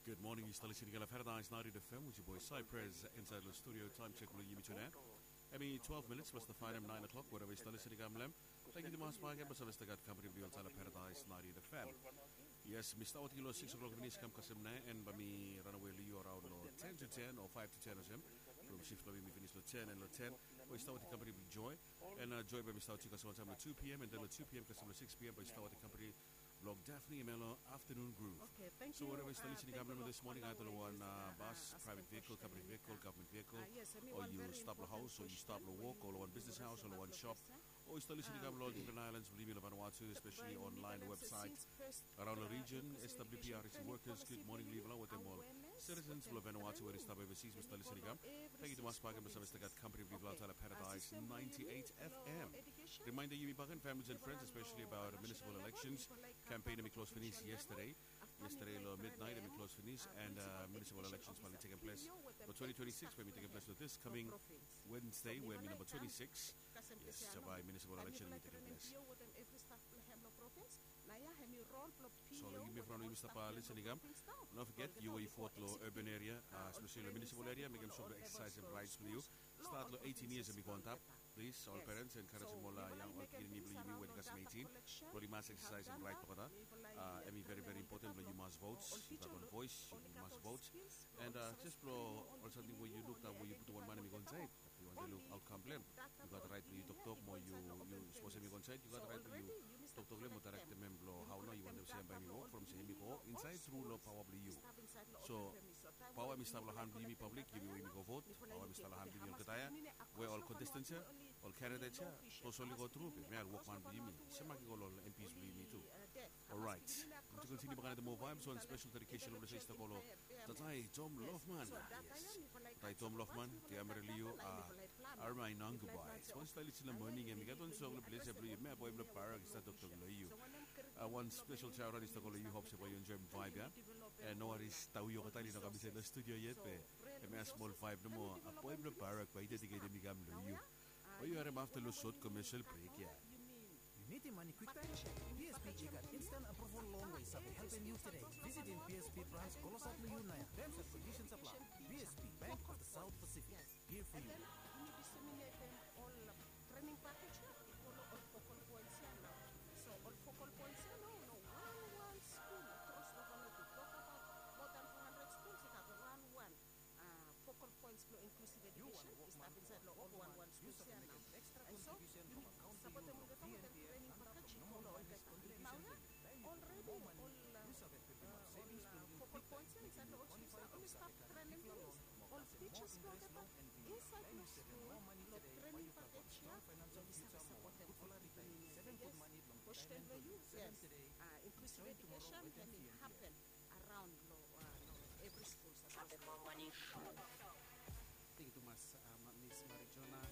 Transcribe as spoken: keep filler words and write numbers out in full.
Good morning, yu stap listening long Paradise ninety-eight F M with your boy Cypress inside the studio. Time check blong yumi tune. Hemi twelve minutes plus the final nine o'clock, wherever yu stap listening long hem. Thank you tumas bak, basa we yu stap gat company blong yu long Paradise ninety-eight F M. Yes, mi stap wetem yu long six o'clock finis kam kasem nao, and bae mi ranawe long yu around long ten to ten o five to ten olsem. From shift blong mi finis long ten and long ten, we yu stap wetem company blong Joy. And uh, Joy bae mi stap wetem yu kasem wantaem long two p.m. and then long two p.m. kasem long six p.m. bae yu stap wetem company blong Daphne Emelo Afternoon Groove. So wherever yu stap listening long hem this morning, either long wan uh, bus, private vehicle, company vehicle, government vehicle, o yu stap long haos, o yu stap long wok, o long wan business house, o long wan shop, o yu stap listening long hem long different islands blong yumi long Vanuatu, especially online website. Around long region, S W P R S workers, good morning long yufala wetem ol citizens blong Vanuatu we oli stap overseas we oli stap listening long hem. Thank you tumas bak, basa we yu stap gat company blong yufala long Paradise ninety-eight F M. Reminder yumi bakegen, families and friends, especially about municipal elections. Campaign hemi close finis yesterday. Yesterday long midnight hemi close finis, and uh, municipal elections bae oli tekem ples long twenty twenty-six, bae hemi tekem ples long this coming Wednesday, we hemi namba twenty-six. Yes, so bae municipal election hemi tekem ples. So long yumi evriwan we yumi stap uh, listening long hem, no forget, yu we yu vot long urban area, uh, especially long municipal area, mekem sua blong exercise hem rights blong yu. Start long eighteen years hemi go antap. Please, ol parents, encouragem ol uh, yang, ol pikinini blong yumi we oli kasem eighteen blong oli mas exercise hem right blong olgeta. Uh, hemi very very important blong yu mas vote. Yu gat wan voice, yu mas vote. And uh, just blong ol samting we yu luk, we yu putum wan man hemi go insaed, yu wantem luk outcome blong hem. Yu gat right blong yu toktok mo yu, yu sapos hemi go insaed, yu gat right blong yu toktok long hem mo daerektem hem blong hao nao yu wantem se hem bae hemi wok from se hemi go insaed tru long paoa blong yu. So paoa hemi stap long han blong yumi, public, yumi we yumi go vot. Paoa hemi stap long han blong yumi olgeta ya, we ol contestants ya, ol candidates ya, sapos oli go tru, be hemia wokman blong yumi. Sem mak i go long ol M Ps blong yumi tu. Alright. Yumi tu kontiniu bakegen wetem moa vibes, wan special dedication blong se i stap go long Tatai Tom Lofman. Yes. Tatai Tom Lofman, ti harim long yu, uh, Armai Nangbai. Sapos yu stap listening long moning ya, mi gat wan song long ples ya blong yu, hemia boe blong Barak i stap toktok long yu. Uh, wan special shout out i stap go long yu, hope se bae yu enjoem vibe ya. And no worries, Tawi Okatali i no kam insaed long studio yet, be hemia smol vibe nomo. Uh, boe blong Barak bae i dediketem i kam long yu. Bae yu harem afta long sot commercial break ya. Yu nidim mane kwiktaem? B S P B gat instant approval loan we i save helpem yu tede. Visitim B S P branch klosap long yu naoia. Terms and conditions apply. B S P, Bank of the South Pacific. Here for you. And then yu nid i diseminetem ol trening pakej ya i go long ol focal points ya nao. So ol focal points ya nao, long wan wan skul akros long Vanuatu, tokabaot moa dan four hundred schools, i gat wan wan focal points blong inclusive education i stap insaed long ol wan wan schools ya nao. And so yumi sapotem olgeta wetem training package i go long olgeta. Naoia already ol focal points ya insaed long ol schools ya oli stap trenem pinis ol teachers blong olgeta insaed long skul long training package ya. Oli save sapotem ol pikinini. Yes, kwesten blong yu, yes. Inclusive education hemi hapen around long evri skul. Thank you tumas, uh, Miss Marijuana.